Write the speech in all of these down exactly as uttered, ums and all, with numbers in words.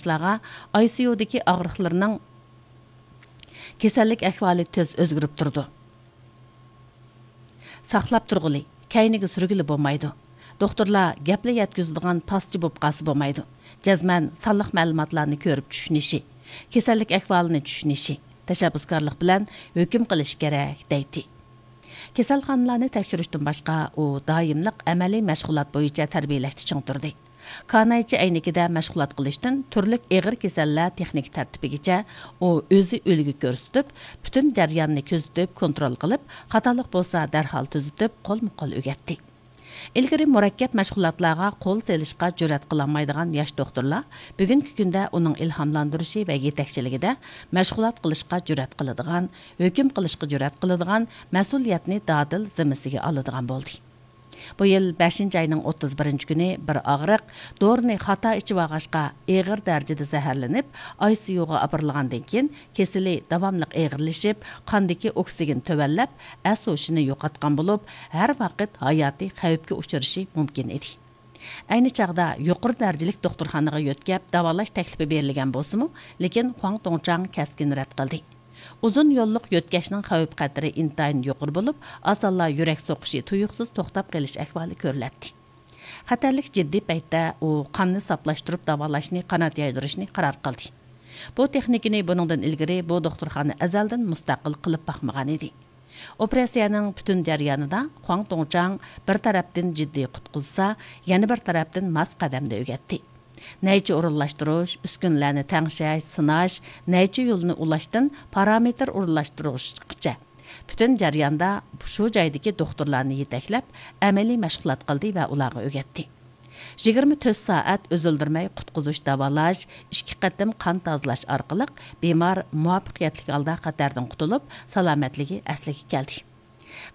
ئاي سى يۇدىكى ئاغرىقلىرىنىڭ كېسەللىك ئەھۋالى تېز ئۆزگىرىپ تۇرىدۇ. ساقلاپ تۇرغىلى، كەينىگە سۈرگىلى بولمايدۇ. دوختۇرلار گەپلا يەتكۈزىدىغان پاسچى بولۇپ قالسا بولمايدۇ. جەزمەن سانلىق مەلۇماتلارنى كۆرۈپ چۈشىنىشى، كېسەللىك ئەھۋالىنى چۈشىنىشى، تەشەببۇسكارلىق بىلەن ھۆكۈم قىلىشى كېرەك، دەيتتى. كېسەلخانىلارنى تەكشۈرۈشتىن باشقا، ئۇ دائىملىق ئەمەلىي مەشغۇلات بويىچە تەربىيەلەشتە چىڭ تۇردى. كانايچى ئەينىكىدە مەشغۇلات قىلىشتىن تۈرلۈك ئېغىر كېسەللەر تېخنىكا تەرتىپىگىچە ئۇ ئۆزى ئۈلگە كۆرسىتىپ، پۈتۈن جەرياننى كۆزىتىپ، كونترول قىلىپ، خاتالىق بولسا دەرھال تۈزىتىپ، قولمۇ قول ئۆگەتتى. ئىلگىرى مۇرەككەپ مەشغۇلاتلارغا قول سېلىشقا جۈرئەت قىلالمايدىغان ياش دوختۇرلار بۈگۈنكى كۈندە ئۇنىڭ ئىلھاملاندۇرۇشى ۋە يېتەكچىلىكىدە مەشغۇلات قىلىشقا جۈرئەت قىلىدىغان، ھۆكۈم قىلىشقا جۈرئەت قىلىدىغان، مەسئۇلىيەتنى دادىل زىممىسىگە ئالىدىغان بولدى. بۇ يىل بەشىنچى ئاينىڭ ئوتتۇز بىرىنچى كۈنى بىر ئاغرىق دورىنى خاتا ئىچىۋالغاچقا، ئېغىر دەرىجىدە زەھەرلىنىپ، ئاي سى يۇغا ئاپىرىلغاندىن كېيىن، كېسىلى داۋاملىق ئېغىرلىشىپ، قاندىكى ئوكسىگېن تۆۋەنلەپ، ئەس-ھوشىنى يوقاتقان بولۇپ، ھەر ۋاقىت ھاياتىي خەۋپكە ئۇچرىشى مۇمكىن ئىدى. ئەينى چاغدا يۇقىرى دەرىجىلىك دوختۇرخانىغا يۆتكەپ داۋالاش تەكلىپى بېرىلگەن بولسىمۇ، لېكىن خۇاڭ توڭچاڭ كەسكىن رەت قىلدى. ئۇزۇن يوللۇق يۆتكەشنىڭ خەۋپ-خەتىرى ئىنتايىن يۇقىرى بولۇپ، ئاسانلا يۈرەك سوقۇشى تۇيۇقسىز توختاپ قېلىش ئەھۋالى كۆرۈلەتتى. خەتەرلىك جىددىي پەيتتە ئۇ قاننى ساپلاشتۇرۇپ داۋالاشنى قانات يايدۇرۇشنى قارار قىلدى. بۇ تېخنىكىنى بۇنىڭدىن ئىلگىرى بۇ دوختۇرخانا ئەزەلدىن مۇستەقىل قىلىپ باقمىغانىدى. ئوپېراتسىيەنىڭ پۈتۈن جەريانىدا خۇاڭ توڭچاڭ بىر تەرەپتىن جىددىي قۇتقۇزسا، يەنە بىر تەرەپتىن ماس قەدەمدە ئۆگەتتى. نەيچە ئورۇنلاشتۇرۇش، ئۈسكۈنىلەرنى تەڭشەش، سىناش، نەيچە يولنى ئۇلاشتىن پارامېتىر ئورۇنلاشتۇرۇشقىچە پۈتۈن جەرياندا شۇ جايدىكى دوختۇرلارنى يېتەكلەپ، ئەمەلىي مەشغۇلات قىلدى ۋە ئۇلارغا ئۆگەتتى. يىگىرمە تۆت سائەت ئۈزۈلدۈرمەي قۇتقۇزۇش داۋالاش، ئىككى قېتىم قان تازىلاش ئارقىلىق بىمار مۇۋەپپەقىيەتلىك ھالدا خەتەردىن قۇتۇلۇپ، سالامەتلىكى ئەسلىگە كەلدى.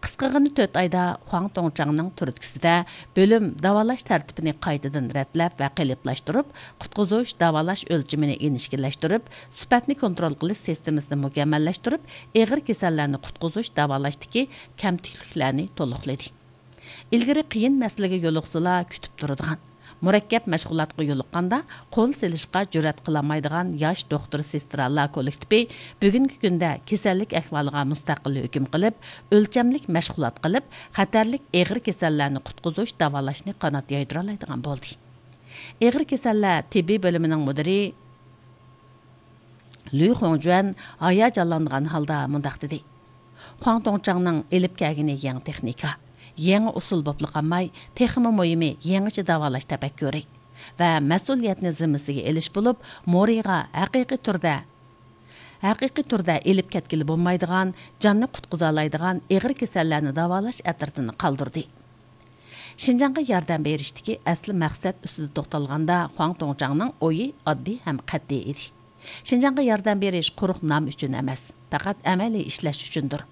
قىسقىغىنە تۆت ئايدا خۇاڭ توڭچاڭنىڭ تۈرتكىسىدە بۆلۈم داۋالاش تەرتىپىنى قايتىدىن رەتلەپ ۋە قېلىپلاشتۇرۇپ، قۇتقۇزۇش، داۋالاش ئۆلچىمىنى ئىنچىكىلەشتۈرۈپ، سۈپەتنى كونترول قىلىش سىستېمىسىنى مۇكەممەللەشتۈرۈپ، ئېغىر كېسەللەرنى قۇتقۇزۇش، داۋالاشتىكى كەمتۈكلۈكلەرنى تولۇقلىدى. ئىلگىرى قىيىن مەسىلىگە يولۇقسىلا كۈتۈپ تۇرىدىغان، مۇرەككەپ مەشغۇلاتقا يولۇققاندا قول سېلىشقا جۈرئەت قىلالمايدىغان ياش دوختۇر سېسترالار كوللېكتىپى بۈگۈنكى كۈندە كېسەللىك ئەھۋالىغا مۇستەقىل ھۆكۈم قىلىپ، ئۆلچەملىك مەشغۇلات قىلىپ، خەتەرلىك ئېغىر كېسەللەرنى قۇتقۇزۇش، داۋالاشنى قانات يايدۇرالايدىغان بولدى. ئېغىر كېسەللەر تېببىي بۆلۈمىنىڭ مۇدىرى لۈ خۇڭجۈەن ھاياجانلانغان ھالدا مۇنداق دېدى: خۇاڭ توڭچاڭنىڭ ئېلىپ كەلگىنى يېڭى تېخنىكا، يېڭى ئۇسۇل بولۇپلا قالماي، تېخىمۇ مۇھىمى يېڭىچە داۋالاش تەپەككۇرى ۋە مەسئۇلىيەتنى زىممىسىگە ئېلىش بولۇپ، مورىغا ھەقىقىي تۈردە، ھەقىقىي تۈردە ئېلىپ كەتكىلى بولمايدىغان، جاننى قۇتقۇزالايدىغان ئېغىر كېسەللەرنى داۋالاش ئەترىتىنى قالدۇردى. شىنجاڭغا ياردەم بېرىشتىكى ئەسلى مەقسەت ئۈستىدە توختالغاندا، خۇاڭ توڭچاڭنىڭ ئويى ئاددىي ھەم قەتئىي ئىدى. شىنجاڭغا ياردەم بېرىش قۇرۇق نام ئۈچۈن ئەمەس، پەقەت ئەمەلىي ئىشلەش ئۈچۈندۇر.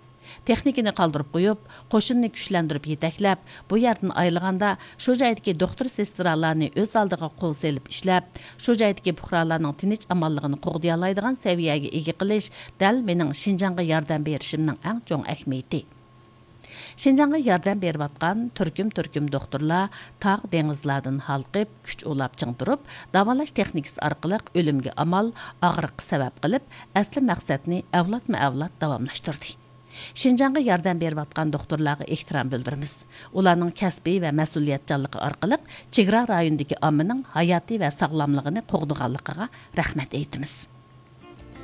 تېخنىكىنى قالدۇرۇپ قويۇپ، قوشۇننى كۈچلەندۈرۈپ يېتەكلەپ، بۇ يەردىن ئايرىلغاندا، شۇ جايدىكى دوختۇر سېسترالارنى ئۆز ئالدىغا قول سېلىپ ئىشلەپ، شۇ جايدىكى پۇقرالارنىڭ تىنچ ئامانلىقىنى قوغدىيالايدىغان سەۋىيەگە ئىگە قىلىش دەل مېنىڭ شىنجاڭغا ياردەم بېرىشىمنىڭ ئەڭ چوڭ ئەھمىيىتى. شىنجاڭغا ياردەم بېرىۋاتقان تۈركۈم-تۈركۈم دوختۇرلار تاغ-دېڭىزلاردىن ھالقىپ، كۈچ ئۇلاپ چىڭ تۇرۇپ، داۋالاش تېخنىكىسى ئارقىلىق ئۆلۈمگە ئامال، ئاغرىققا سەۋەب قىلىپ، ئەسلى مەقسەتنى ئەۋلادمۇ-ئەۋلاد داۋاملاشتۇردى. شىنجاڭغا ياردەم بېرىۋاتقان دوختۇرلارغا ئېھتىرام بىلدۈرىمىز. ئۇلارنىڭ كەسپىي ۋە مەسئۇلىيەتچانلىقى ئارقىلىق چېگرا رايونىدىكى ئاممىنىڭ ھاياتى ۋە ساغلاملىقىنى قوغدىغانلىقىغا رەھمەت ئېيتىمىز.